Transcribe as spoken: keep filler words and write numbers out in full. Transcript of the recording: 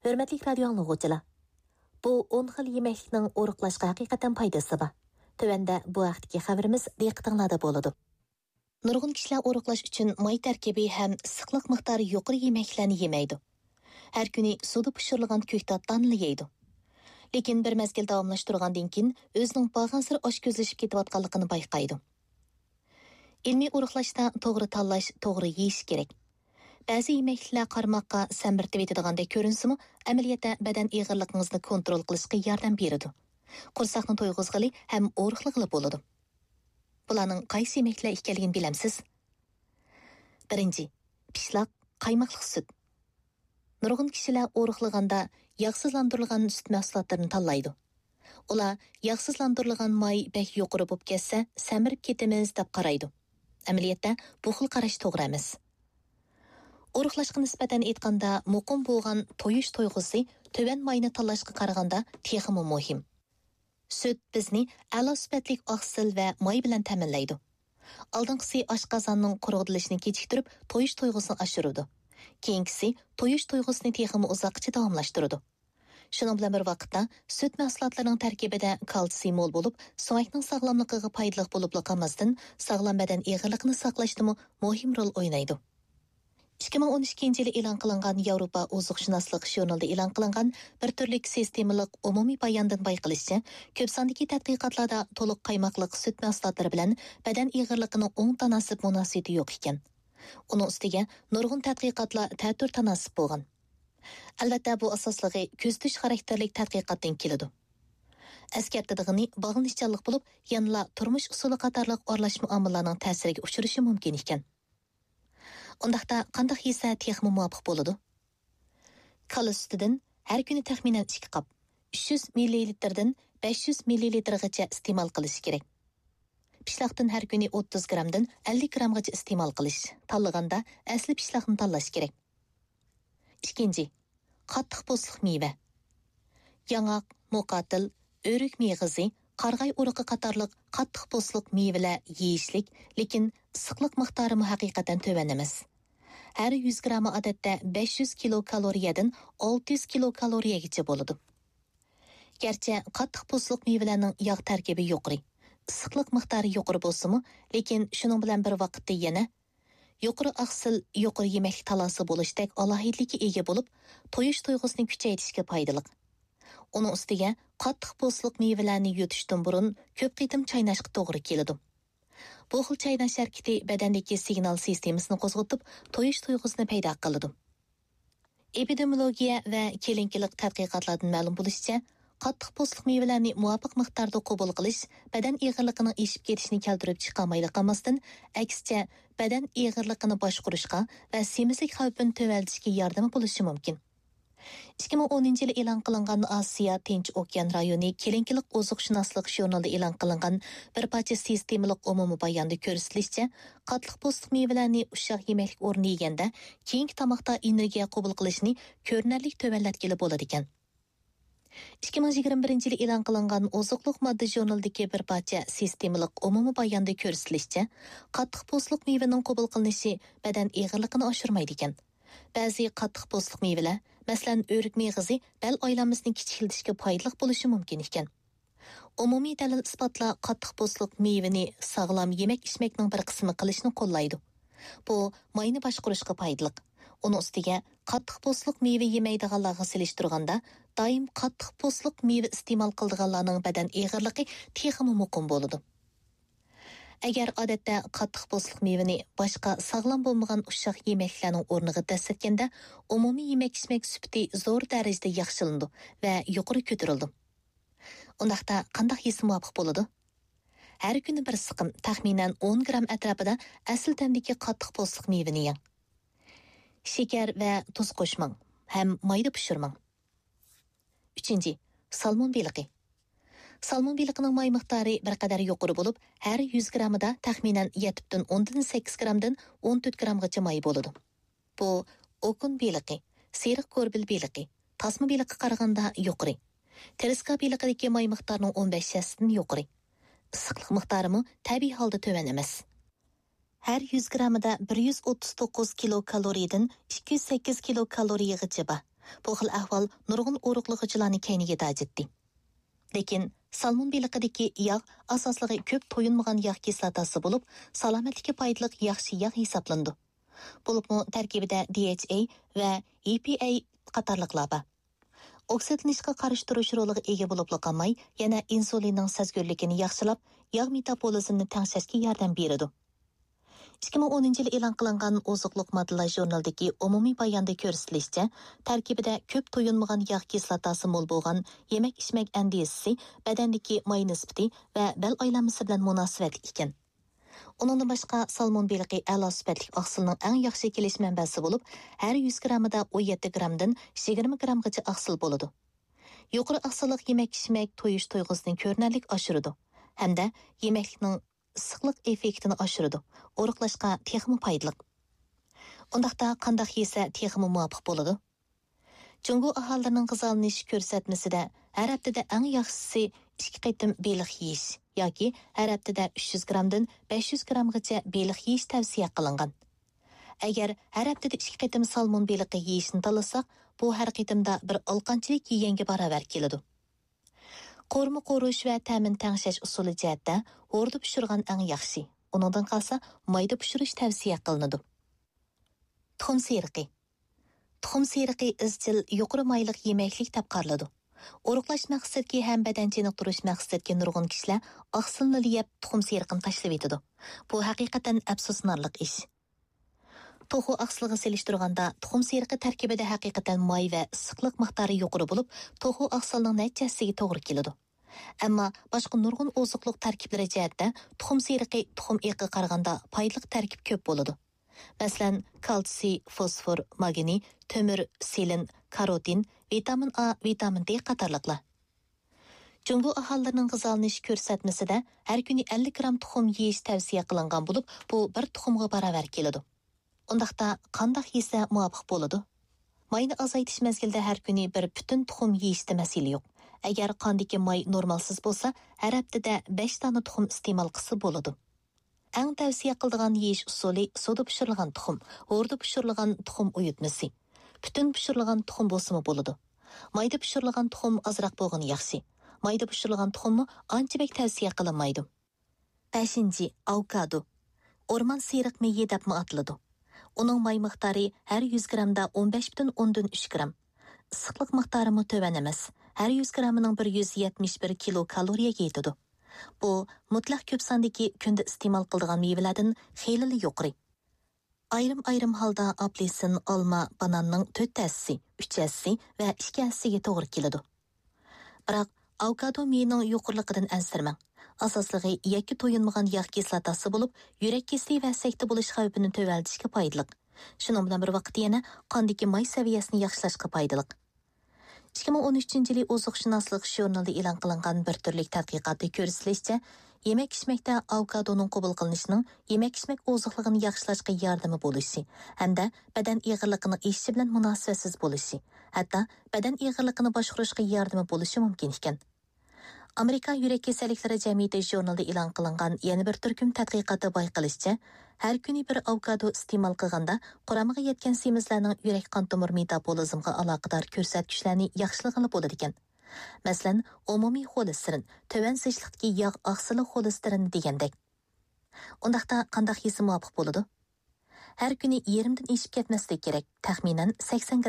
ھۆرمەتلىك رادىيو ئاڭلىغۇچىلار! بۇ ئون خىل يېمەكلىكنىڭ ئورۇقلاشقا ھەقىقەتەن پايدىسى بار. تۆۋەندە بۇ ھەقتىكى خەۋىرىمىز دىققىتىڭلاردا بولىدۇ. نۇرغۇن كىشىلەر ئورۇقلاش ئۈچۈن ماي تەركىبى ھەم ئىسسىقلىق مىقدارى يۇقىرى يېمەكلىكلەرنى يېمەيدۇ. ھەر كۈنى سۇدا پىشۇرۇلغان كۆكتات تانىنى يەيدۇ. لېكىن بىر مەزگىل داۋاملاشتۇرغاندىن كېيىن ئۆزىنىڭ بارغانسېرى ئاچكۆزلىشىپ كېتىۋاتقانلىقىنى بايقايدۇ. ئىلمىي ئورۇقلاشتا توغرا تاللاش، توغرا يېيىش كېرەك. بەزى يېمەكلىكلەر قارىماققا سەمرىتىۋېتىدىغاندەك كۆرۈنسىمۇ، ئەمەلىيەتتە بەدەن ئېغىرلىقىڭىزنى كونترول قىلىشقا ياردەم بېرىدۇ. قورساقنى تويغۇزغىلى ھەم ئورۇقلىغىلى بولىدۇ. بۇلارنىڭ قايسى يېمەكلىكلەر ئىكەنلىكىنى بىلەمسىز؟ بىرىنچى، پىشلاق، قايماقلىق سۈت. نۇرغۇن كىشىلەر ئورۇقلىغاندا ياغسىزلاندۇرۇلغان سۈت مەھسۇلاتلىرىنى تاللايدۇ. ئۇلار ياغسىزلاندۇرۇلغان ماي بەك يۇقىرى بولۇپ كەتسە، سەمرىپ كېتىمىز دەپ قارايدۇ. ئەمەلىيەتتە، بۇ خىل قاراش توغرا ئەمەس. ئورۇقلاشقا نىسبەتەن ئېيتقاندا، مۇقىم بولغان تويۇش تۇيغۇسى تۆۋەن ماينى تاللاشقا قارىغاندا تېخىمۇ مۇھىم. سۈت بىزنى ئەلا سۈپەتلىك ئاقسىل ۋە ماي بىلەن تەمىنلەيدۇ. ئالدىنقىسى ئاشقازاننىڭ قۇرغىدىلىشىنى كېچىكتۈرۈپ، تويۇش تۇيغۇسىنى ئاشۇرىدۇ. كېيىنكىسى تويۇش تۇيغۇسىنى تېخىمۇ ئۇزاققىچە داۋاملاشتۇرىدۇ. شۇنىڭ بىلەن بىر ۋاقىتتا، سۈت مەھسۇلاتلىرىنىڭ تەركىبىدە كالتسىي مول بولۇپ، سۆڭەكنىڭ ساغلاملىقىغا پايدىلىق بولۇپلا قالماستىن، ساغلام بەدەن ئېغىرلىقىنى ساقلاشتىمۇ مۇھىم رول ئوينايدۇ. ئىككى مىڭ ئون ئىككىنچى يىلى ئېلان قىلىنغان ياۋروپا ئوزۇقشۇناسلىق ژۇرنىلىدا ئېلان قىلىنغان بىر تۈرلۈك سىستېمىلىق ئومۇمىي باياندىن بايقىلىشىچە، كۆپ ساندىكى تەتقىقاتلاردا تولۇق قايماقلىق سۈت مەھسۇلاتلىرى بىلەن بەدەن ئېغىرلىقىنىڭ ئوڭ تاناسىپ مۇناسىۋىتى يوق ئىكەن. ئۇنىڭ ئۈستىگە نۇرغۇن تەتقىقاتلار تەتۈر تاناسىپ بولغان. ئەلۋەتتە، بۇ ئاساسلىقى كۆزىتىش خاراكتېرلىك تەتقىقاتتىن كېلىدۇ. ئەسكەرتىدىغىنى، باغلىنىشچانلىق بولۇپ، يەنىلا تۇرمۇش ئۇسۇلى قاتارلىق ئارىلاشما ئامىللارنىڭ تەسىرىگە ئۇچرىشى مۇمكىن ئىكەن. ئۇنداقتا قانداق يېسە تېخىمۇ مۇۋاپىق بولىدۇ؟ كالا سۈتىدىن ھەر كۈنى تەخمىنەن ئىككى قاپ، ئۈچ يۈز مىللىلىتىردىن بەش يۈز مىللىلىتىرغىچە ئىستېمال قىلىش كېرەك. پىشلاقتىن ھەر كۈنى ئوتتۇز گرامدىن ئەللىك گرامغىچە ئىستېمال قىلىش، تاللىغاندا ئەسلى پىشلاقنى تاللاش كېرەك. ئىككىنچى، قاتتىق پوستلۇق مېۋە. ياڭاق، موقاتىل، ئۆرۈك مېغىزى، قارىغاي ئۇرۇقى قاتارلىق قاتتىق پوستلۇق مېۋىلەر يېيىشلىك، لېكىن ئىسسىقلىق مىقدارىمۇ ھەقىقەتەن تۆۋەن ئەمەس. ھەر يۈز گرامى ئادەتتە بەش يۈز كىلوكالورىيەدىن ئالتە يۈز كىلوكالورىيەگىچە بولىدۇ. گەرچە قاتتىق پوستلۇق مېۋىلەرنىڭ ياغ تەركىبى يۇقىرى، ئىسسىقلىق مىقدارى يۇقىرى بولسىمۇ، لېكىن شۇنىڭ بىلەن بىر ۋاقىتتا يەنە يۇقىرى ئاقسىل، يۇقىرى يېمەكلىك تالاسى بولۇشتەك ئالاھىدىلىككە ئىگە بولۇپ، تويۇش تۇيغۇسىنى كۈچەيتىشكە پايدىلىق. ئۇنىڭ ئۈستىگە قاتتىق پوستلۇق مېۋىلەرنى يۇتۇشتىن بۇرۇن كۆپ قېتىم چايناشقا توغرا كېلىدۇ. بۇ خىل چايناش ھەرىكىتى بەدەندىكى سىگنال سىستېمىسىنى قوزغىتىپ، تويۇش تۇيغۇسىنى پەيدا قىلىدۇ. ئېپىدېمىيولوگىيە ۋە كىلىنىكىلىق تەتقىقاتلاردىن مەلۇم بولۇشىچە، قاتتىق پوستلۇق مېۋىلەرنى مۇۋاپىق مىقداردا قوبۇل قىلىش بەدەن ئېغىرلىقىنىڭ ئېشىپ كېتىشىنى كەلتۈرۈپ چىقارمايلا قالماستىن، ئەكسىچە، بەدەن ئېغىرلىقىنى باشقۇرۇشقا ۋە سېمىزلىك خەۋپىنى تۆۋەنلىتىشكە ياردىمى بولۇشى مۇمكىن. ئىككى مىڭ ئونىنچى يىلى ئېلان قىلىنغان ئاسىيا تىنچ ئوكيان رايونى كىلىنىكىلىق ئوزۇقشۇناسلىق ژۇرنىلىدا ئېلان قىلىنغان بىر پارچە سىستېمىلىق ئومۇمىي باياندا كۆرسىتىلىشىچە، قاتتىق پوستلۇق مېۋىلەرنى ئۇششاق يېمەكلىك ئورنىدا يېگەندە، كېيىنكى تاماقتا ئېنېرگىيە قوبۇل قىلىشنى كۆرۈنەرلىك تۆۋەنلەتكىلى بولىدىكەن. ئىككى مىڭ يىگىرمە بىرىنچى يىلى ئېلان قىلىنغان ئوزۇقلۇق ماددا ژۇرنىلىدىكى بىر پارچە سىستېمىلىق ئومۇمىي باياندا كۆرسىتىلىشىچە، قاتتىق پوستلۇق مېۋىنىڭ قوبۇل قىلىنىشى بەدەن ئېغىرلىقىنى ئاشۇرمايدىكەن. بەزى قاتتىق پوستلۇق مېۋىلەر، مەسىلەن، ئۆرۈك مېغىزى بەل ئايلانمىسىنى كىچىكلىتىشكە پايدىلىق بولۇشى مۇمكىن ئىكەن. ئومۇمىي دەلىل-ئىسپاتلار قاتتىق پوستلۇق مېۋىنى ساغلام يېمەك-ئىچمەكنىڭ بىر قىسمى قىلىشنى قوللايدۇ. بۇ ماينى باشقۇرۇشقا پايدىلىق. ئۇنىڭ ئۈستىگە، قاتتىق پوستلۇق مېۋە يېمەيدىغانلارغا سېلىشتۇرغاندا، دائىم قاتتىق پوستلۇق مېۋە ئىستېمال قىلىدىغانلارنىڭ بەدەن ئېغىرلىقى تېخىمۇ مۇقىم بولىدۇ. ئەگەر ئادەتتە قاتتىق پوستلۇق مېۋىنى باشقا ساغلام بولمىغان ئۇششاق يېمەكلىكلەرنىڭ ئورنىغا دەسسەتكەندە، ئومۇمىي يېمەك-ئىچمەك سۈپىتى زور دەرىجىدە ياخشىلىنىدۇ ۋە يۇقىرى كۆتۈرۈلىدۇ. ئۇنداقتا قانداق يېسە مۇۋاپىق بولىدۇ؟ ھەر كۈنى بىر سىقىم، تەخمىنەن ئون گرام ئەتراپىدا ئەسلى تەمدىكى قاتتىق پوستلۇق مېۋىنى يەڭ. شېكەر ۋە تۇز قوشماڭ ھەم مايدا پىشۇرماڭ. ئۈچىنچى، سالمون بېلىقى. سالمون بېلىقىنىڭ ماي مىقدارى بىر قەدەر يۇقىرى بولۇپ، ھەر يۈز گرامىدا تەخمىنەن يەتتە پۈتۈن ئوندىن سەككىز گرامدىن ئون تۆت گرامغىچە ماي بولىدۇ. بۇ ئوكۇن بېلىقى، سېرىق گوربىل بېلىقى، تاسما بېلىققا قارىغاندا يۇقىرى. ترېسكا بېلىقىدىكى ماي مىقدارىنىڭ ئون بەش ھەسسىدىن يۇقىرى. ئىسسىقلىق مىقدارىمۇ تەبىئىي ھالدا تۆۋەن ئەمەس. ھەر يۈز گراممىدا بىر يۈز ئوتتۇز توققۇز كىلو كالورىيەدىن ئىككى يۈز سەككىز كىلو كالورىيەگىچە بار. بۇ خىل ئەھۋال نۇرغۇن ئورۇقلىغۇچىلارنى كەينىگە تاجىتتى. لېكىن سالمون بېلىقىدىكى ياغ ئاساسلىقى كۆپ تويۇنمىغان ياغ كىسلاتاسى بولۇپ، سالامەتلىككە پايدىلىق ياخشى ياغ ھېسابلىنىدۇ. بولۇپمۇ تەركىبىدە دى ئېيچ ئەي ۋە ئى پى ئەي قاتارلىقلار بار. ئوكسىدلىنىشقا قارشى تۇرۇش رولىغا ئىگە بولۇپلا قالماي، يەنە ئىنسۇلىننىڭ سەزگۈرلۈكىنى ياخشىلاپ، ياغ مېتابولىزمنى تەڭشەشكە ياردەم بېرىدۇ. ئىككى مىڭ ئونىنچى يىلى ئېلان قىلىنغان ئوزۇقلۇق ماددىلار ژۇرنىلىدىكى ئومۇمىي باياندا كۆرسىتىلىشىچە، تەركىبىدە كۆپ تويۇنمىغان ياغ كىسلاتاسى مول بولغان يېمەك-ئىچمەك ئەندىزىسى بەدەندىكى ماي نىسبىتى ۋە بەل ئايلانمىسى بىلەن مۇناسىۋەتلىك ئىكەن. ئۇنىڭدىن باشقا، سالمون بېلىقى ئەلا سۈپەتلىك ئاقسىلنىڭ ئەڭ ياخشى كېلىش مەنبەسى بولۇپ، ھەر يۈز گراممىدا ئون يەتتە گرامدىن يىگىرمە گرامغىچە ئاقسىل بولىدۇ. يۇقىرى ئاقسىللىق يېمەك-ئىچمەك تويۇش تۇيغۇسىنى كۆرۈنەرلىك ئاشۇرىدۇ ھەمدە يېمەكلىكنىڭ ئىسسىقلىق ئېففېكتىنى ئاشۇرىدۇ، ئورۇقلاشقا تېخىمۇ پايدىلىق. ئۇنداقتا قانداق يېسە تېخىمۇ مۇۋاپىق بولىدۇ؟ جۇڭگو ئاھالىلىرىنىڭ غىزالىنىش كۆرسەتمىسىدە ھەر ھەپتىدە ئەڭ ياخشىسى ئىككى قېتىم بېلىق يېيىش ياكى ھەر ھەپتىدە ئۈچ يۈز گرامدىن بەش يۈز گرامغىچە بېلىق يېيىش تەۋسىيە قىلىنغان. ئەگەر ھەر ھەپتىدە ئىككى قېتىم سالمون بېلىقى يېيىشنى تاللىساق، بۇ ھەر قېتىمدا بىر ئالقانچىلىك يېگەنگە باراۋەر كېلىدۇ. قورۇما قورۇش ۋە تەمىنى تەڭشەش ئۇسۇلى جەھەتتە ھوردا پىشۇرغان ئەڭ ياخشى. ئۇنىڭدىن قالسا، مايدا پىشۇرۇش تەۋسىيە قىلىنىدۇ. تۇخۇم سېرىقى. تۇخۇم سېرىقى ئىزچىل يۇقىرى مايلىق يېمەكلىك دەپ قارىلىدۇ. ئورۇقلاش مەقسىتىدىكى ھەم بەدەن چېنىقتۇرۇش مەقسىتىدىكى نۇرغۇن كىشىلەر ئاقسىلنىلا يەپ، تۇخۇم سېرىقىنى تاشلىۋېتىدۇ. بۇ ھەقىقەتەن ئەپسۇسلىنارلىق ئىش. توخۇ ئاقسىلىغا سېلىشتۇرغاندا، تۇخۇم سېرىقى تەركىبىدە ھەقىقەتەن ماي ۋە ئىسسىقلىق مىقدارى يۇقىرى بولۇپ، توخۇ ئاقسىلنىڭ نەچچە ھەسسىگە توغرا كېلىدۇ. ئەمما باشقا نۇرغۇن ئوزۇقلۇق تەركىبلىرى جەھەتتە تۇخۇم سېرىقى تۇخۇم ئېقىغا قارىغاندا پايدىلىق تەركىب كۆپ بولىدۇ. مەسىلەن، كالتسىي، فوسفور، ماگنىي، تۆمۈر، سېلېن، كاروتىن، ۋىتامىن ئا، ۋىتامىن دې قاتارلىقلار. جۇڭگو ئاھالىلىرىنىڭ غىزالىنىش كۆرسەتمىسىدە ھەر كۈنى ئەللىك گرام تۇخۇم يېيىش تەۋسىيە قىلىنغان بولۇپ، بۇ بىر تۇخۇمغا باراۋەر كېلىدۇ. ئۇنداقتا قانداق يېسە مۇۋاپىق بولىدۇ؟ ماينى ئازايتىش مەزگىلىدە ھەر كۈنى بىر پۈتۈن تۇخۇم يېيىشتە مەسىلە يوق. ئەگەر قاندىكى ماي نورمالسىز بولسا، ھەر ھەپتىدە بەش دانە تۇخۇم ئىستېمال قىلسا بولىدۇ. ئەڭ تەۋسىيە قىلىدىغان يېيىش ئۇسۇلى سۇدا پىشۇرۇلغان تۇخۇم، ھوردا پىشۇرۇلغان تۇخۇم ئۇيۇتمىسى. پۈتۈن پىشۇرۇلغان تۇخۇم بولسىمۇ بولىدۇ. مايدا پىشۇرۇلغان تۇخۇم ئازراق بولغىنى ياخشى. مايدا پىشۇرۇلغان تۇخۇممۇ ئانچە بەك تەۋسىيە قىلىنمايدۇ. بەشىنچى، ئاۋوكادو. ئورمان سېرىق مېيى دەپمۇ ئاتىلىدۇ. ئۇنىڭ ماي مىقدارى ھەر يۈز گرامدا ئون بەش پۈتۈن ئوندىن ئۈچ گرام. ئىسسىقلىق مىقدارىمۇ تۆۋەن ئەمەس. ھەر يۈز گرامىنىڭ بىر يۈز يەتمىش بىر كىلو كالورىيەگە يېتىدۇ. بۇ مۇتلەق كۆپ ساندىكى كۈندە ئىستېمال قىلىدىغان مېۋىلەردىن خېلىلا يۇقىرى. ئايرىم-ئايرىم ھالدا ئاپېلسىن، ئالما، باناننىڭ تۆت ھەسسىسى، ئۈچ ھەسسىسى ۋە ئىككى ھەسسىسىگە توغرا كېلىدۇ. بىراق، ئاۋوكادو مېيىنىڭ يۇقىرىلىقىدىن ئەنسىرىمەڭ. ئاساسلىقى يەككە تويۇنمىغان ياغ كىسلاتاسى بولۇپ، يۈرەك كېسىلى ۋە سەكتە بولۇش خەۋپىنى تۆۋەنلىتىشكە پايدىلىق. شۇنىڭ بىلەن بىر ۋاقىتتا يەنە قاندىكى ماي سەۋىيەسىنى ياخشىلاشقا پايدىلىق. ئىككى مىڭ ئون ئۈچىنچى يىلى ئوزۇقشۇناسلىق ژۇرنىلىدا ئېلان قىلىنغان بىر تۈرلۈك تەتقىقاتتا كۆرسىتىلىشىچە، يېمەك-ئىچمەكتە ئاۋوكادونىڭ قوبۇل قىلىنىشىنىڭ يېمەك-ئىچمەك ئوزۇقلۇقىنى ياخشىلاشقا ياردىمى بولۇشى ھەمدە بەدەن ئېغىرلىقىنىڭ ئېشىشى بىلەن مۇناسىۋەتسىز بولۇشى، ھەتتا بەدەن ئېغىرلىقىنى باشقۇرۇشقا ياردىمى بولۇشى مۇمكىن ئىكەن. ئامېرىكا يۈرەك كېسەللىكلىرى جەمئىيىتى ژۇرنىلىدا ئېلان قىلىنغان يەنە بىر تۈركۈم تەتقىقاتتا بايقىلىشىچە، ھەر كۈنى بىر ئاۋوكادو ئىستېمال قىلغاندا، قۇرامىغا يەتكەن سېمىزلەرنىڭ يۈرەك قان تومۇر مېتابولىزمغا ئالاقىدار كۆرسەتكۈچلەرنى ياخشىلىغىلى بولىدىكەن. مەسىلەن، ئومۇمىي خولېستېرىن، تۆۋەن زىچلىقتىكى ياغ ئاقسىلى خولېستېرىنى دېگەندەك. ئۇنداقتا قانداق يېسە مۇۋاپىق بولىدۇ؟ ھەر كۈنى يېرىمدىن ئېشىپ كەتمەسلىك كېرەك، تەخمىنەن سەكسەن گرام.